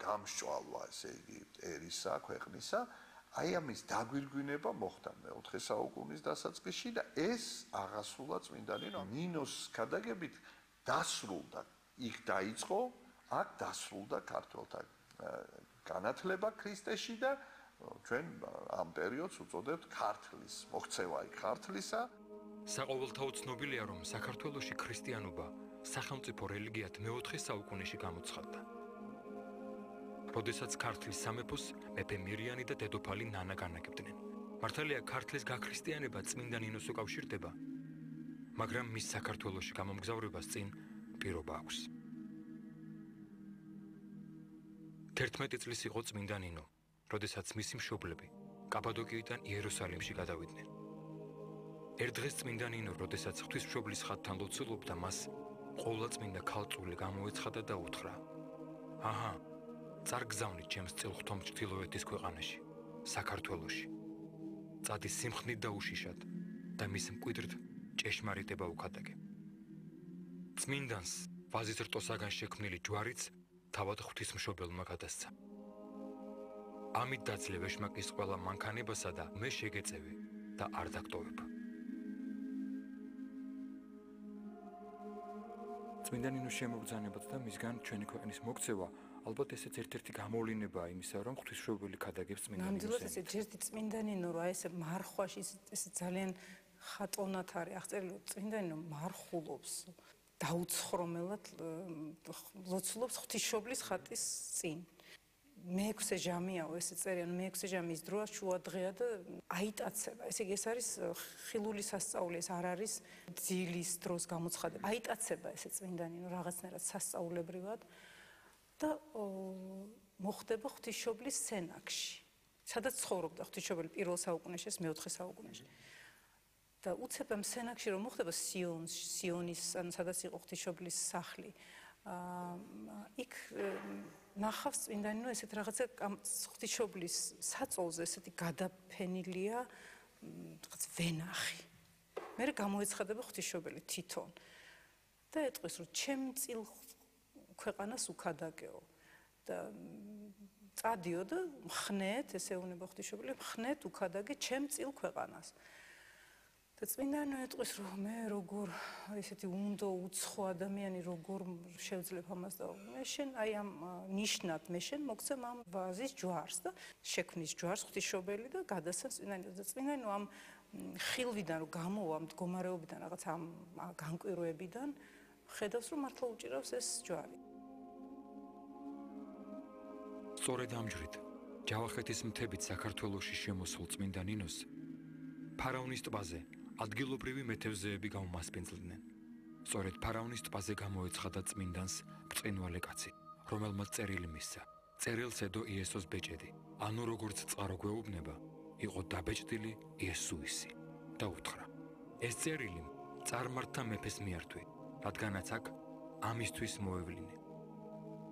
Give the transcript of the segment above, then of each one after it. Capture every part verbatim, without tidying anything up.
გამსჭვალვა, ესე იგი, ერისა, ქვეყნისა, აი ამის დაგვირგვინება მოხდა მეოთხე საუკუნის დასაწყისში და ეს აღასრულა წმინდა ნინო. ნინოს ქადაგებით დასრულდა, იქ დაიწყო, აქ დასრულდა ქართველთა განათლება ქრისტეში და ჩვენ ამ პერიოდს უწოდებთ ქართლის, მოქცევა იქ ქართლისა. საყოველთაო ცნობილია, რომ საქართველოში ქრისტიანობა სახელმწიფო რელიგიად მეოთხე საუკუნეში გამოცხადდა. როდესაც ქართლის სამეფოს მეფე მირიანი და დედოფალი ნანა განაგებდნენ. მართალია ქართლის გაქრისტიანება წმინდა ნინოს უკავშირდება, მაგრამ მის საქართველოში გამომგზავრებას წინ პირობა აქვს. თერთმეტი წლის იყო წმინდა ნინო, როდესაც მისი მშობლები კაპადოკიიდან იერუსალიმში გადავიდნენ. ერთ დღეს წმინდა ნინო, როდესაც ღვთისმშობლის ხატთან ლოცულობდა, მას ყოვლადწმინდა ქალწული გამოეცხადა და უთხრა: აჰა, წარგზავნით ჩემს წილ-ღვთომ ჩრდილოეთის ქვეყანაში, საქართველოში. წადი სიმხნით და უშიშად და მის მკვიდრთ ჭეშმარიტება უკადაგე. წმინდანს ვაზის რტოსაგან შექმნილი ჯვარიც თავად ღვთისმშობელმა გადასცა. ამით დაძლე ვეშმაკის ყველა მანქანებასა და მე შეგეწევი და არ დაგტოვებ. წმინდა ნინოს შემოგზავნებაც და მისგან ჩვენი ქვეყნის მოქცევა ალბათ ესეც ერთ-ერთი გამოვლენებაა იმისა, რომ ღვთისმშობელი ქადაგებს წმინდა ნინოს. ნამდვილად ეს ერთი წმინდა ნინო რა ესე მარხვაში ეს ძალიან ხატოვნად არის აღწერილი, წმინდა ნინო მარხულობს დაუცხრომელად ლოცულობს ღვთისმშობლის ხატის წინ. მეექვსე ჟამიაო ესე წერია, მეექვსე ჟამის დროა შუა დღეა და აიტაცება. ესე იგი ეს არის ხილული სასწაული, ეს არ არის ძილის დროს გამოცხადება. აიტაცება ესე წმინდა ნინო რაღაცნაირად სასწაულებრივად და მოხდება ღვთისმშობლის სენაკში. სადაც ცხოვრობდა ღვთისმშობელი პირველ საუკუნეში, ეს მეოთხე საუკუნეში. და უცებ ამ სენაკში რომ მოხდება სიონს, სიონის, ან სადაც იყო ღვთისმშობლის სახლი. იქ ნახავს წმინდა ნინო ესეთ რაღაცა ღვთისმშობლის საწოლზე ესეთი გადაფენილია რაღაც ვენახი. მე გამოეცხადება ღვთისმშობელი თვითონ და ეტყვის რომ ჩემ წილ ქვეყანას უკადაგეო და წადიო და მხნეთ, ესე უნება ღვთისმშობელი, მხნეთ უკადაგე ჩემ წილ ქვეყანას. და წმინდა ნინო ეტყვის რომ მე როგორ ესეთი უნდო უცხო ადამიანი როგორ შევძლებ ამას და მე შენ აი ამ ნიშნად მე შენ მოგცემ ამ ვაზის ჯვარს და შექმნის ჯვარს ღვთისმშობელი და გადასცემს წმინდა ნინოს და წმინდა ნინო ამ ხილვიდან რომ გამოვა ამ მდგომარეობიდან რაღაც ამ განკვირვებიდან ხედავს რომ მართლა უჭირავს ეს ჯვარი. სწორედ ამ ჯვრით ჯავახეთის მთებით საქართველოში შემოსულ წმინდა ნინოს ფარავნის ტბაზე ადგილობრივი მეთევზეები გამომასპინძლიდნენ. სწორედ ფარავნის ტბაზე გამოეცხადა წმინდანს ბრწყინვალე კაცი, რომელმაც წერილი მისცა. წერილს ედო იესოს ბეჭედი, ანუ როგორც წყარო გვეუბნება, იყო დაბეჭდილი იესუისი და უთხრა: ეს წერილი წარმართთა მეფეს მიართვი, რადგანაც აქ ამისთვის მოევლინე.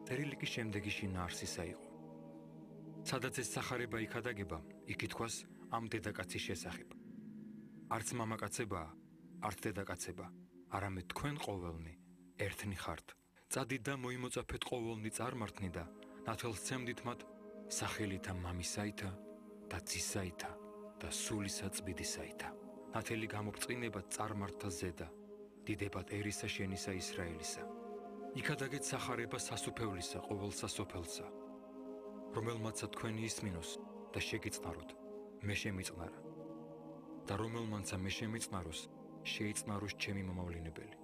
წერილი კი შემდეგი შინაარსისა იყო. სადაც ეს სახარება იქადაგება, იქ ითქვას ამ დედაკაცის შესახებ. არც მამაკაცებაა, არც დედაკაცება, არამედ თქვენ ყოველნი ერთნი ხართ. წადით და მოიმოწაფეთ ყოველნი წარმართნი და ნათელსცემდით მათ სახელითა მამისაითა და ძისაითა და სულისა წმინდისაითა. ნათელი გამობწყინებათ წარმართთა ზედა, დიდებად ერისა შენისა ისრაელისა. იქადაგეთ სახარება სასუფევლისა ყოველ სასოფელსა, რომელმაცა თქვენი ისმინოს და შეგიწნაროთ, მე შემიწნარა. და რომელმანცა მე შემიწნაროს, შეიწნაროს ჩემი მომავლინებელი.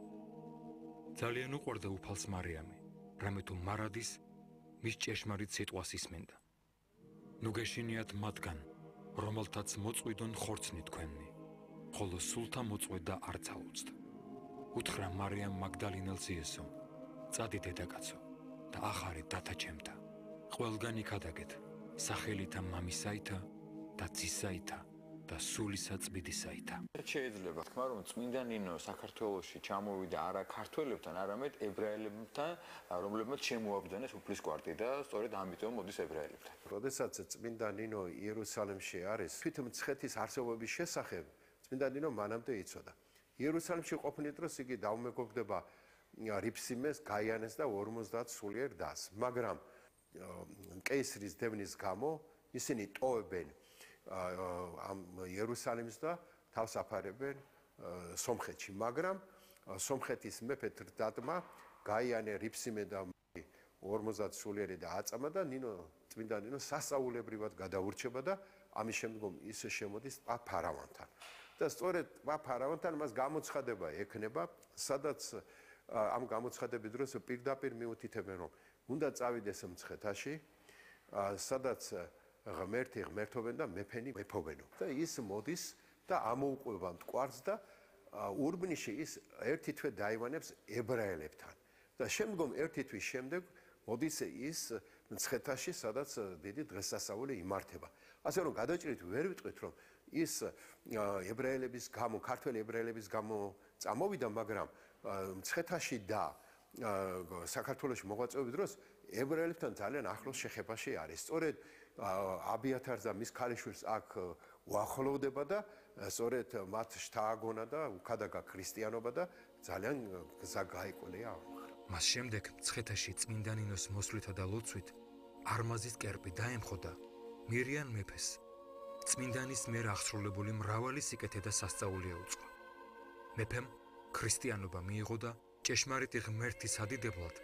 ძალიან უყვარდა უფალს მარიამი, რამე თუ მარადის მის ჭეშმარიტ სიტყვას ისმენდა. ნუ გეშინიათ მათგან, რომელთაც მოწყვიდონ ხორცნი თქვენი, ხოლო სულთა მოწყვეტდა არ წაუწდა. უთხრა მარიამ მაგდალინელს იესომ: წადი დედაკაცო და ახარეთ დათა ჩემთა. ყველგან იქადაგეთ სახელითა მამისაითა და ძისაითა და სულისა წმინდისაითა. შეიძლება თქვა რომ წმინდა ნინო საქართველოში ჩამოვიდა არა ქართველებთან, არამედ ებრაელებთან, რომლებმაც შემოაბრძანეს უფლის კვარტი და სწორედ ამიტომ მოდის ებრაელებთან. როდესაც წმინდა ნინო იერუსალიმში არის, თვით მცხეთის არსებობის შესახებ წმინდა ნინო მანამდე იცოდა. იერუსალიმში ყოფნის დროს იგი დაუმეგობრდება რიფსიმეს, გაიანეს და ორმოცდაათ სულიერ დას, მაგრამ კეისრის დევნის გამო ისინი ტოვებენ ამ იერუსალიმს და თავს აფარებენ სომხეთში, მაგრამ სომხეთის მეფე დადმა გაიანე რიფსიმე და ორმოცდაათ სულიერი და აწამა და ნინო წმინდა ნინო სასწაულებრივად გადაურჩება და ამის შემდგომ ისე შემოდის ტბა ფარავანთან. და სწორედ ტბა ფარავანთან მას გამოცხადება ექნება, სადაც ამ გამოცხადების დროს პირდაპირ მიუთითებენ, რომ უნდა წავიდეს მცხეთაში, სადაც ღმერთი ღმერთობენ და მეფენი მეფობენო. და ის მოდის და ამოუყვება მტკვარს და ურბნიში ის ერთი თვე დაივანებს ებრაელებთან. და შემდგომ ერთი თვის შემდეგ მოდის ის მცხეთაში, სადაც დიდი დღესასწაული იმართება. ასე რომ გადაჭრით ვერ ვიტყვით, რომ ის ებრაელების გამო, ქართველი ებრაელების გამო წამოვიდა, მაგრამ მცხეთაში და საქართველოში მოღვაწეობის დროს ებრაელებთან ძალიან ახლოს შეხებაში არის. სწორედ აბიათარს და მის ქალიშვილს აქ უახლოვდება და სწორედ მათ შთააგონა და უქადაგა ქრისტიანობა და ძალიან გზა გაიკვლია. მას შემდეგ მცხეთაში წმინდა ნინოს მოსვლითა და ლოცვით არმაზის კერპი დაემხოდა მირიან მეფეს. წმინდანის მიერ აღსრულებული მრავალი სიკეთე და სასწაული ეუწყო. მეფემ ქრისტიანობა მიიღო და ჭეშმარიტი ღმერთის ადიდებლად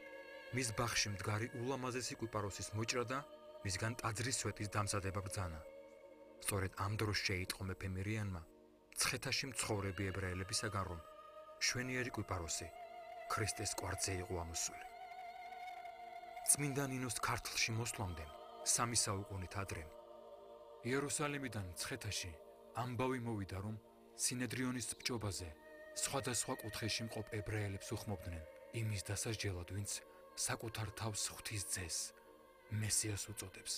მის ბაღში მდგარი ულამაზესი კვიპაროსის მოჭრა და მისგან ტაძრის სვეტის დამზადება ბრძანა. სწორედ ამ დროს შეიტყო მეფე მირიანმა მცხეთაში მცხოვრები ებრაელებისაგან, რომ შვენიერი კვიპაროსი ქრისტეს კვართზე იყო ამოსული. წმინდა ნინოს ქართლში მოსვლამდე სამი საუკუნით ადრე იერუსალიმიდან მცხეთაში ამბავი მოვიდა, რომ სინედრიონის ბჭობაზე სხვადასხვა კუთხეში მყოფ ებრაელებს უხმობდნენ იმის დასასჯელად, ვინც საკუთარ თავს ღვთის ძეს მესიას უწოდებს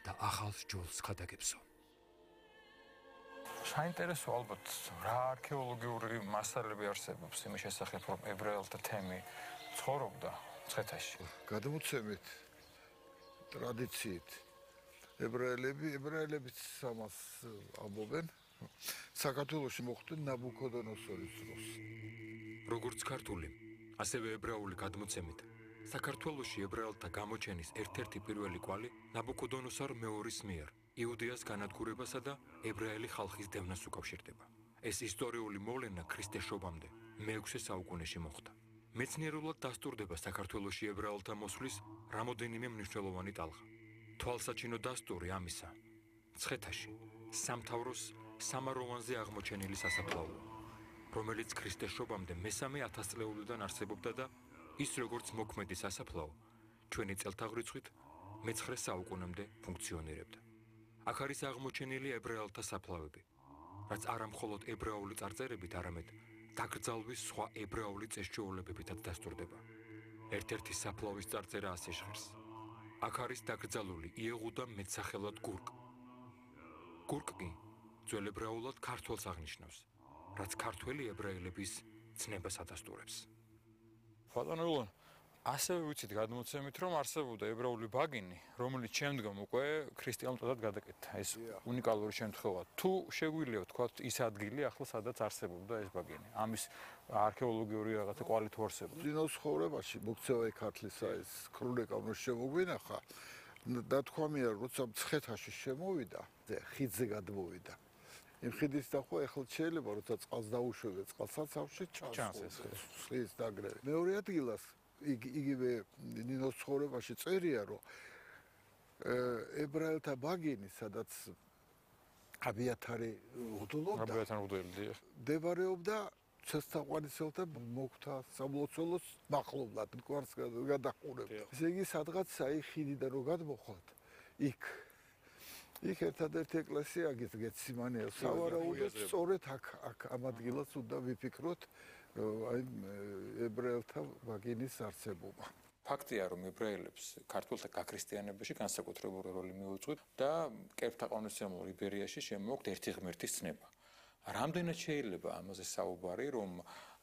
და ახალ ჯულს ხადაგებსო. საინტერესო ალბათ რა არქეოლოგიური მასალები არსებობს იმის შესახებ, რომ ებრაელთა თემი ცხოვრობდა მცხეთაში. გადმოცემით ტრადიციით ებრაელები ებრაელებიც ამას ამბობენ. საქართველოში მოხდა ნაბუქოდონოსორის დროს. როგორც ქართული, ასევე ებრაული გადმოცემით, საქართველოში ებრაელთა გამოჩენის ერთ-ერთი პირველი კვალი ნაბუქოდონოსარ მეორის მიერ იუდეას განადგურებასა და ებრაელი ხალხის დევნას უკავშირდება. ეს ისტორიული მოვლენა ქრისტეშობამდე მეექვსე საუკუნეში მოხდა. მეცნიერულად დასტურდება საქართველოში ებრაელთა მოსვლის რამოდენიმე მნიშვნელოვანი ტალღა. თვალსაჩინო დასტური ამისა მცხეთაში სამთავროს სამაროვანზე აღმოჩენილი სასაფლაოა, რომელიც ქრისტეშობამდე მესამე ათასწლეულიდან არსებობდა და ის როგორც მოქმედი სასაფლაო ჩვენი წელთაღრიცხვით მეცხრე საუკუნემდე ფუნქციონირებდა. აქ არის აღმოჩენილი ებრაელთა საფლავები, რაც არა მხოლოდ ებრაული წარწერებით, არამედ დაკრძალვის სხვა ებრაული წესჩვეულებებითაც დასტურდება. ერთ-ერთი საფლავის წარწერა ასე ჟღერს. აქ არის დაკრძალული იეღუდა მეტსახელად გურკ. გურკ კი ძველ ებრაულად ქართველს აღნიშნავს, რაც ქართველი ებრაელების ცნებას ადასტურებს. ბატონო ულან, ასევე ვიცით გადმოცემით, რომ არსებობდა ებრაული ბაგინი, რომელიც შემდგომ უკვე ქრისტიანულ ტაძრად გადაკეთდა. ეს უნიკალური შემთხვევა. თუ შეგვიძლია ვთქვათ, ის ადგილი ახლა სადაც არსებობდა ეს ბაგინი. ამის არქეოლოგიური რაღაცა კვალი თუ არსებობს. წინოს ხოვრებაში მოქცევა ქართლისა ეს ქრონიკა რომ შემოგვინახა, დათქვამია, როცა მცხეთაში შემოვიდა, ხიდზე გადმოვიდა. იმ ხიდის დახვა ახლა შეიძლება, როცა წყალს დაუშვებდა, წყალსაცავში ჩანს ეს ხის დაგრევი. მეორე ადგილას იგივე ნინოს ცხოვრებაში წერია, რომ ებრაელთა ბაგინი, სადაც აბიათარი უდულობდა, აბიათარი უდულობდა, მდებარეობდა ცესთაყვანისელთა მოკვთა სამლოცველოს მახლობლად, მტკვარს გადაყურებდა. ესე იგი, სადღაც აი ხიდიდან რო გადმოხვათ, იქ იქ ერთადერთი ეკლესია გეციმანია, სავარაუდოდ სწორედ აქ აქ ამ ადგილას უნდა ვიფიქროთ აი ებრაელთა ბაგინის არსებობა. ფაქტია, რომ ებრაელებს ქართველთა გაქრისტიანებაში განსაკუთრებული როლი მიუძღვით და კერპთა ყაუნისმცემლ იბერიაში შემოაქვთ ერთი ღმერთის ცნება. რამდენად შეიძლება ამაზე საუბარი, რომ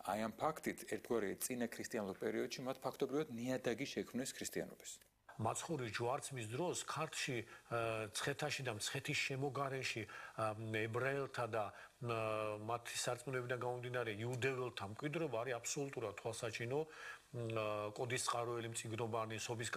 აი ამ ფაქტით ერთგვარი წინა ქრისტიანულ პერიოდში მათ ფაქტობრივად ნიადაგი შექმნეს ქრისტიანობის. მაცხოვრის ჯვარცმის დროს ქართლში მცხეთაში და მცხეთის შემოგარენში ებრაელთა და მათი სარწმუნოებიდან გამომდინარე იუდეველთა მკვიდრობა არის აბსოლუტურად თვალსაჩინო კოდის წყაროელი მწიგნობანი სობის